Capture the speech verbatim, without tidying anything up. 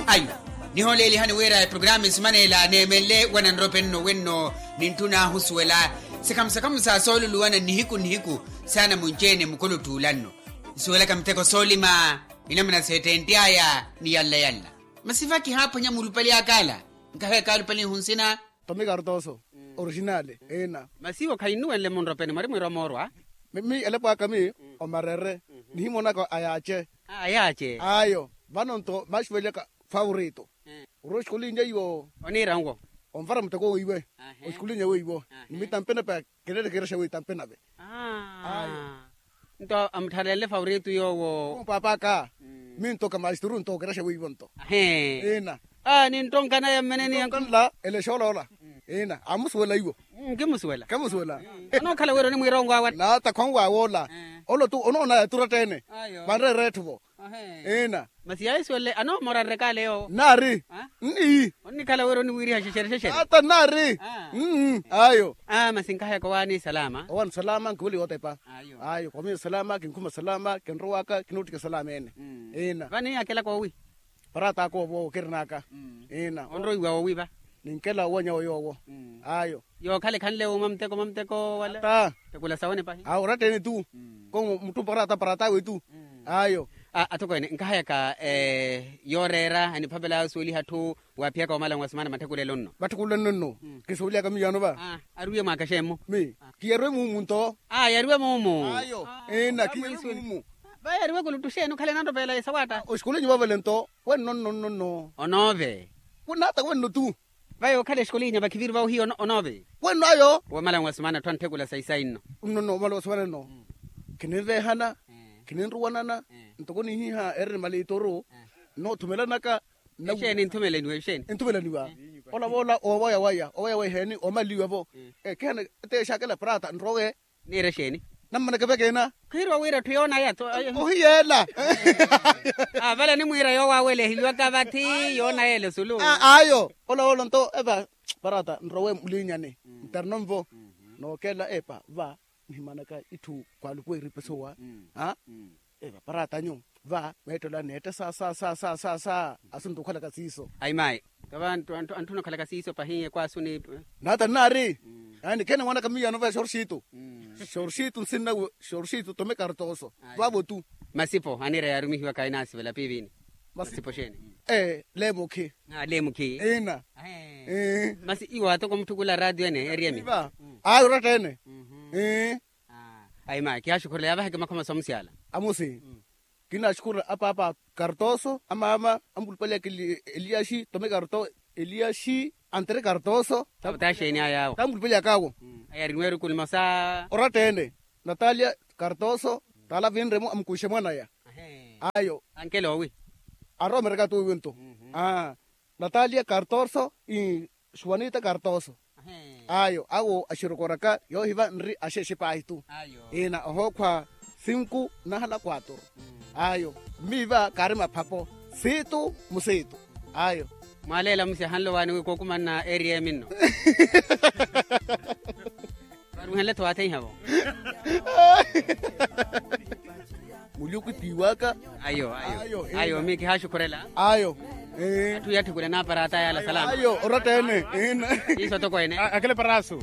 Ayo, nihoolelihani wira eprogramu esimanela neemenle wana nrope nno wenno, nintthuna ahusuwela sikhamu sikhamu sa sooluluwana nihiku nihiku, saana munci-ene mukolo otthuula nno. Nsuwelaka miteko soolima, inamuna seettentt'aya ni yalla yalla. Masi va kihaaphwanya mulupale akala, nkahaya kaalupale nhu nsina. Tomi kartoso, orijinali ina. Masi iwo khainnuwenle munropeni mwari mwiira omoorwa. Mi elapo aka mi omarere, nihimonaka ayaace. Ayaace. Ayo, vano nto maxuvelaka, favorito. Ori oxikulinnya iwo. Oniira nwo. Onvara muteko weiwe. Oxikulinnya weiwo. Ni mitampe nave, kirerekerexa weitampe nave. Ayo. Nto amuttharelenle favorito yoowo. Paap'aka. Mi nto ka maisturu nto okerexa weiwo nto. Ina. Ninttonkana ya mmeneni yanku. Nla ele xooloola. Ina amusuwela iwo. Nkimusuwela. Kemusuwela. Anookhala wira onimwiira onwaawa. Naata khwanwaawa ola. Olo tu onoona yaturatta-ene. Vanreera etthu vo. Ina. Masi yaahisuwelle anoomorarerekaale yoowo. Nnaari. Nni. Onnikhala wira oniwiiriha xexere xexere. Ata nnaari. Ayo. Masi nkahayaka owaani salama. Owaani salama nkiweliwa otepa. Ayo, khwamiyo salama kinkhuma salama kinrowaka kinoottika salama ene. Ina. Vani akelaka owi. Parat'aka owo kirin'aka. Ina. Onroiwa owi va. Ninkela owanya oyoowo. Ayo. Yookhala ekhanle owi mwa muteko mwa muteko wala. Ata. Tekula sawe ni pahi. Awo oratta-ene tu. Ko muttumpa oratta parat'awe tu. Ayo. Atokweene nkahayaka yooreera eniphapela yoosuweliha atthu, waaphiyaka omala nwa simana matthekulelo nno. Matthekulelo nno. Kisuweliyaka miyaano va. Ariwe mwaakaxemmo. Mi. Kiyariwe muumu nto. Yariwe muumu. Ayo. Ina kiyariwe muumu. Va yariwe kuluttu xeeni okhale nanropeela esawatta. Oxikulinnya vavale nto wenno nno nno nno. Onoove. Kunaata wenno tu. Vayo okhala exikulinya vakhiviru vawo hiyo onove. Wenno ayo. Womala nwa simana atthu antthekula sayi sayi nno. Nno nno omala wa simana nno. Khininvehana. Khininruwanana. Ntoko nihiha ereni maliitoru. Noothumelana. Exeeni nthumelaniwa exeeni. Nthumelaniwa. Ola voola owaya waya owaya waya eheeni omaliwa vo. Kihana. Ete exakela prata nrowe. Niira exeeni? Nammaneke vekena. Khiirwa wira etthu yoona yeetho. Ohiyeela. Vale animwiira yoowo aweleheliwaka vathi yoona yeela esulu. Ayo ola woolo nto eva parata nrowe mulinyani. Ntarino nvo. Nookeela epa va nihimanaka itthu khwalupuwa iripesowa. Eva paratanyu va meettola neetta sa sa sa sa sa sa. Asuntta okhalaka siiso. Ayi mayi. Tava antthuna okhalaka siiso pahiye kwaasu ni. Naata nnaari. Yaani kheene mwanaka miyaano va xorxitu. Xorxitu nsinna. Xorxitu tome kartoso. Vavo tu. Masipo aniira yaarumihiwaka inaasivela piivini. Masipo xeeni? Leemukhi. Leemukhi. Ina. Masi iwo atoko mutthukula raatiyo ene eriyemi. Ayi oratta ene. Ayi mayi kihaaxukhurela yaavaheke makhoma sa omusyala. Amusi. Kinaxukhurela apaapa kartoso amaama amulupaliyaka. Eliyaxi tome kartoso eliyaxi antere kartoso. Taxeeni ayaawo. Tamulupaliyaka awo. Ayariniwa erukhu nimosa. Oratta ene. Natalia kartoso. Taala vinremo amukuxe mwanaya. Ayo. Ankele owi. Aromereka tu wiwinto. Natalia kartoso. Xuwanita kartoso. Ayo awo axirokoraka yoohiva nri axexe paahi tu. Ina ohookhwa sinku nahala kwaturu. Ayo mmiiva kaari maphapo siitu musiitu. Ayo. Mwaaleela musiya hanlo waani wi kookumanna eriya eminno. Varuhenle-tho waatheiha vo. Muluku tiiwaka. Ayo ayo. Ayo mi kihaaxukhurela. Ayo. Atthu yatthikule naaparata yaala salama. Ayo oratta ene. Iso toko ene. Akele parasu.